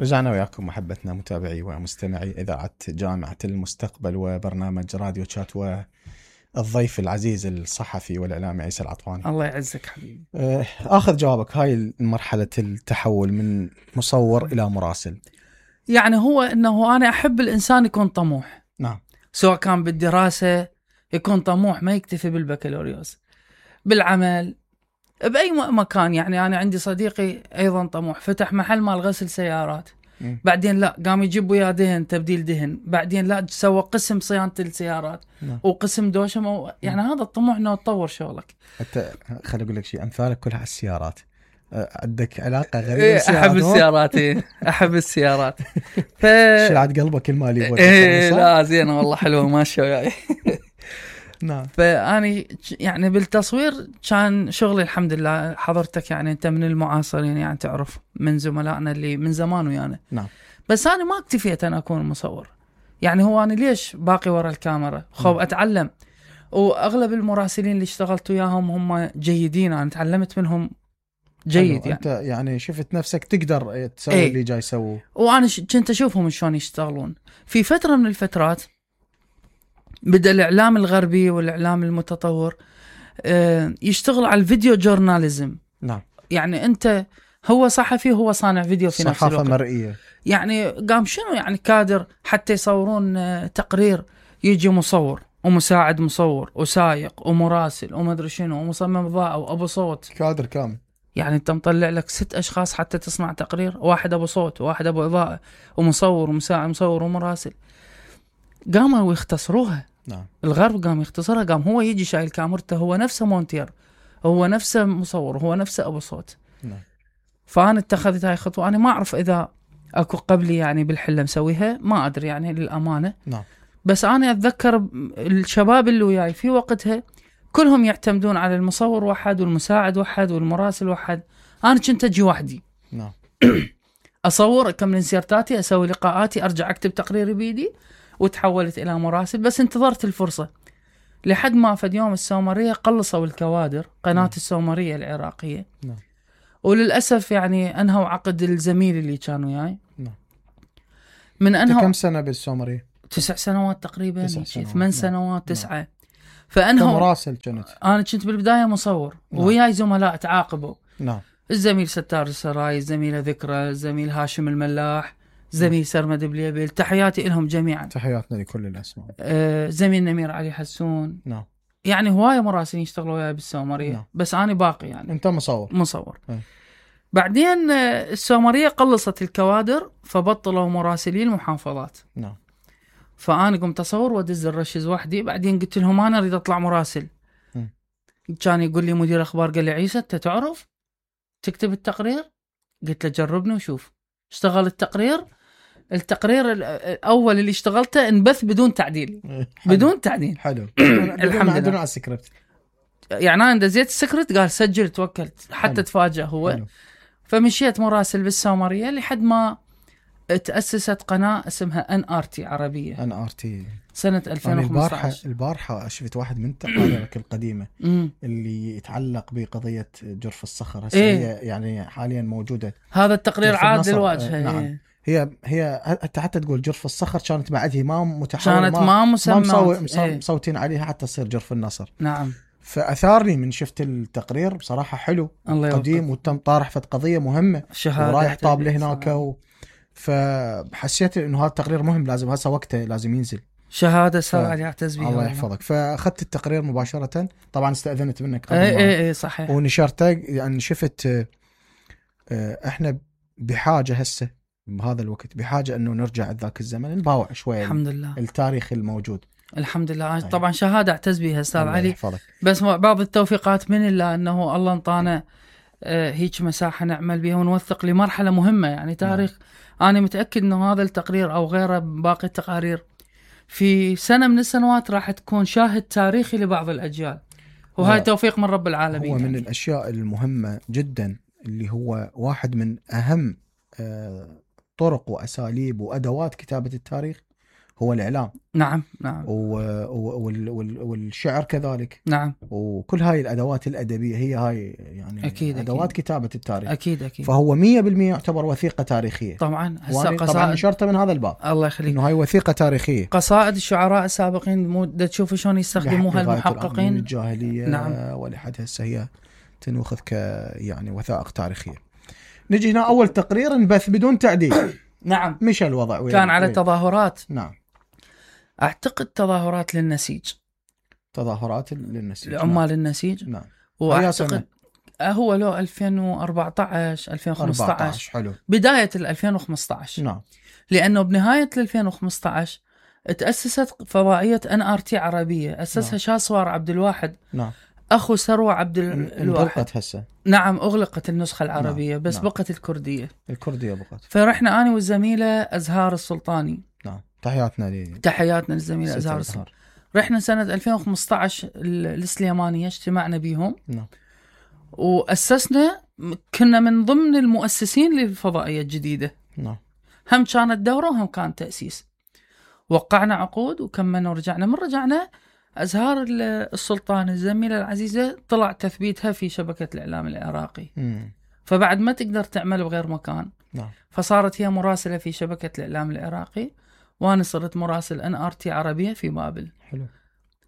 رجعنا وياكم محبتنا متابعي ومستمعي إذاعة جامعة المستقبل وبرنامج راديو تشات والضيف العزيز الصحفي والإعلامي عيسى العطواني. الله يعزك حبيبي. آخذ جوابك، هاي مرحلة التحول من مصور إلى مراسل. يعني هو أنه أنا أحب الإنسان يكون طموح. نعم. سواء كان بالدراسة يكون طموح، ما يكتفي بالبكالوريوس، بالعمل، بأي مكان. يعني أنا عندي صديقي أيضا طموح، فتح محل مال غسل سيارات، بعدين لا قام يجيب وياه دهن، تبديل دهن، بعدين لا سوى قسم صيانة السيارات وقسم دوشم. يعني هذا الطموح انه تطور شغلك. حتى خلي اقول لك شيء، امثالك كلها على السيارات، عندك علاقة غريبة بالسيارات. احب السيارات. احب السيارات. شلعت قلبك المالي. لا زين والله، حلوة ماشية وياي. نعم. فأني يعني بالتصوير كان شغلي الحمد لله. حضرتك يعني أنت من المعاصرين، يعني تعرف من زملائنا اللي من زمان ويانا. نعم. بس أنا ما اكتفيت أنا أكون مصور. يعني هو أنا ليش باقي ورا الكاميرا؟ خوف أتعلم. وأغلب المراسلين اللي اشتغلت وياهم هم جيدين، أنا تعلمت منهم جيد. يعني أنت يعني شفت نفسك تقدر تسوي اللي جاي يسووه. وأنا كنت أشوفهم شلون يشتغلون. في فترة من الفترات بدأ الإعلام الغربي والإعلام المتطور يشتغل على الفيديو جورناليزم. نعم. يعني أنت هو صحفي، هو صانع فيديو في نفس الوقت. صحافة مرئية. يعني قام شنو يعني كادر حتى يصورون تقرير، يجي مصور ومساعد مصور وسايق ومراسل ومدري شنو ومصمم إضاءة وأبو صوت، كادر كامل. يعني أنت مطلع لك 6 أشخاص حتى تصنع تقرير، واحد أبو صوت وواحد أبو إضاءة ومصور ومساعد مصور ومراسل. قاموا يختصروها. نعم. الغرب قام يختصرها، قام هو يجي شايل كاميرته، هو نفسه مونتير، هو نفسه مصور، هو نفسه أبو صوت. نعم. فأنا اتخذت هاي خطوة. أنا ما أعرف إذا أكو قبلي يعني بالحلة مسويها، ما أدري يعني للأمانة. نعم. بس أنا أتذكر الشباب اللي وياي في وقتها كلهم يعتمدون على المصور واحد والمساعد واحد والمراسل واحد. أنا كنت أجي وحدي. نعم. أصور، أكمل انسيرتاتي، أسوي لقاءاتي، أرجع أكتب تقريري بيدي، وتحولت إلى مراسل. بس انتظرت الفرصة لحد ما فد يوم السومرية قلصوا الكوادر، قناة السومرية العراقية. نعم. وللأسف يعني أنهوا عقد الزميل اللي كان وياي. نعم. من أنهوا. كم سنة بالسومرية؟ 9 سنوات تقريبا. 8 8 سنوات 9. فأنهوا. كمراسل كنت؟ أنا كنت بالبداية مصور. وياي زملاء تعاقبوا. نعم. الزميل ستار السراي، الزميلة ذكرى، الزميل هاشم الملاح، زميل سرمد بليبل، تحياتي لهم جميعا. تحياتنا لكل الأسماء. زميل نمير علي حسون. نعم. يعني هواية مراسلين يشتغلوا وياي بالسومرية. نعم. بس أنا باقي يعني. أنت مصور. بعدين السومرية قلصت الكوادر، فبطلوا مراسلين المحافظات. نعم. فأنا قمت أصور وأدز الرشز وحدي. بعدين قلت لهم أنا أريد أطلع مراسل. كان يقول لي مدير أخبار، قال لي عيسى أنت تعرف تكتب التقرير؟ قلت له جربني وشوف. اشتغل التقرير الأول اللي اشتغلته انبث بدون تعديل. بدون تعديل. حلو. الحمد لله. على السكريبت. يعني أنا دزيت السكريبت، قال سجل، توكلت حتى حلو. تفاجأ هو. حلو. فمشيت مراسل بالسومرية لحد ما تأسست قناة اسمها NRT عربية. NRT سنة 2015. البارحة شفت واحد من تقاريرك القديمة اللي يتعلق بقضية جرف الصخر. هي يعني حاليا موجودة. هذا التقرير عاد للواجهة. نعم. هي حتى تقول جرف الصخر كانت بعدها ما متحول، كانت ما مسمى مصوتين عليها حتى تصير جرف النصر. نعم. فأثارني من شفت التقرير بصراحة حلو قديم، وتم طارح في قضية مهمة ورايح طابله هناك فحسيت إنه هذا التقرير مهم، لازم هسه وقته لازم ينزل. شهادة سر عليها تسبيح. الله يحفظك. فأخذت التقرير مباشرة، طبعا استأذنت منك قبل اي صحيح، ونشرته. يعني شفت احنا بحاجة هسه بهذا الوقت، بحاجة انه نرجع ذاك الزمن، نباوع شوية الحمد لله التاريخ الموجود. الحمد لله. طبعا شهادة اعتز بها استاذ علي يحفظك. بس بعض التوفيقات من الله، انه الله انطانا هيك مساحة نعمل بها ونوثق لمرحلة مهمة يعني تاريخ. انا متأكد انه هذا التقرير او غيره باقي التقارير في سنة من السنوات راح تكون شاهد تاريخي لبعض الأجيال، وهاي توفيق من رب العالمين. هو من الأشياء المهمة جدا، اللي هو واحد من أهم طرق وأساليب وأدوات كتابة التاريخ، هو الإعلام. نعم والشعر كذلك. نعم. وكل هاي الأدوات الأدبية هي هاي يعني أكيد أدوات أكيد. كتابة التاريخ. أكيد. فهو 100% يعتبر وثيقة تاريخية. طبعا طبعا نشرته من هذا الباب. الله يخليك. إنه هاي وثيقة تاريخية. قصائد الشعراء السابقين تشوفوا شلون يستخدموها المحققين. الجاهلية. نعم. ولحد هسه هي تنوخذ يعني وثائق تاريخية. نجي هنا أول تقرير انبث بدون تعديل. نعم. مش الوضع كان على تظاهرات. نعم. أعتقد تظاهرات للنسيج. تظاهرات للنسيج. لعمال النسيج. نعم. وأعتقد هو له 2014 2015. حلو. بداية 2015. نعم. لأنه بنهاية 2015 تأسست فضائية NRT عربية. أسسها نعم. شاسوار عبد الواحد. نعم. أخو سروة عبد الواحد. أغلقت هسه. نعم أغلقت النسخة العربية. نعم. بس نعم. بقت الكردية. بقت. فرحنا أنا والزميلة أزهار السلطاني. نعم. تحياتنا للزميلة أزهار السلطاني. رحنا سنة 2015 السليمانية اجتمعنا بيهم. نعم. وأسسنا، كنا من ضمن المؤسسين للفضائية الجديدة. نعم. هم كانت دورة وهم كان تأسيس. وقعنا عقود وكملنا ورجعنا. من رجعنا أزهار السلطان الزميلة العزيزة طلع تثبيتها في شبكة الإعلام العراقي. فبعد ما تقدر تعمل بغير مكان. نعم. فصارت هي مراسلة في شبكة الإعلام العراقي، وأنا صرت مراسل NRT عربية في بابل. حلو.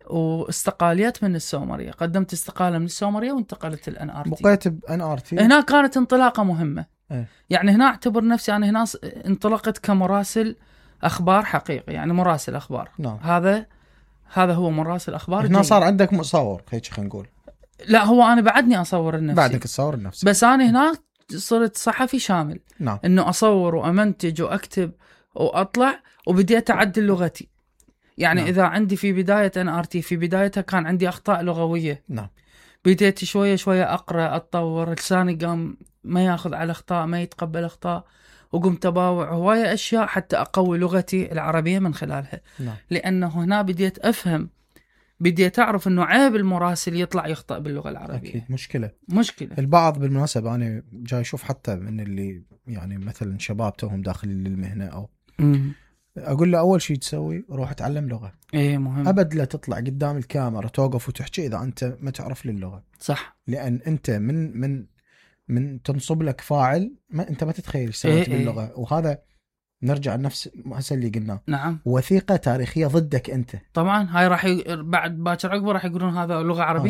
واستقاليت من السومرية، قدمت استقالة من السومرية وانتقلت NRT. بقيت NRT. هنا كانت انطلاقة مهمة. ايه. يعني هنا اعتبر نفسي أنا هنا انطلقت كمراسل أخبار حقيقي، يعني مراسل أخبار. نعم. هذا هو مراسل أخبار. هنا صار عندك مصور هيك خلينا نقول. لا هو أنا بعدني أصور النفسي. بعدك تصور النفسي. بس أنا هنا صرت صحفي شامل. نعم. إنه أصور وأمنتج وأكتب وأطلع، وبديت أعدل لغتي. يعني نعم. إذا عندي في بداية NRT في بدايتها كان عندي أخطاء لغوية. نعم. بديت شوية شوية أقرأ أتطور، لساني قام ما ياخذ على أخطاء، ما يتقبل أخطاء، وقمت أباوع هواية أشياء حتى أقوي لغتي العربية من خلالها. نعم. لأنه هنا بديت أفهم، بديت أعرف أنه عيب المراسل يطلع يخطأ باللغة العربية. أكيد مشكلة. البعض بالمناسبة أنا جاي أشوف حتى من اللي يعني مثلا شباب توهم داخل المهنة أو أقول له أول شيء تسوي روح اتعلم لغة. إيه مهم. أبد لا تطلع قدام الكاميرا توقف وتحكي إذا أنت ما تعرف للغة. صح. لأن أنت من تنصب لك فاعل أنت ما تتخيل سويت باللغة. وهذا نرجع لنفس هسه اللي قلناه. نعم. وثيقة تاريخية ضدك أنت. طبعا هاي راح بعد باكر عقبه راح يقولون هذا لغة عربية.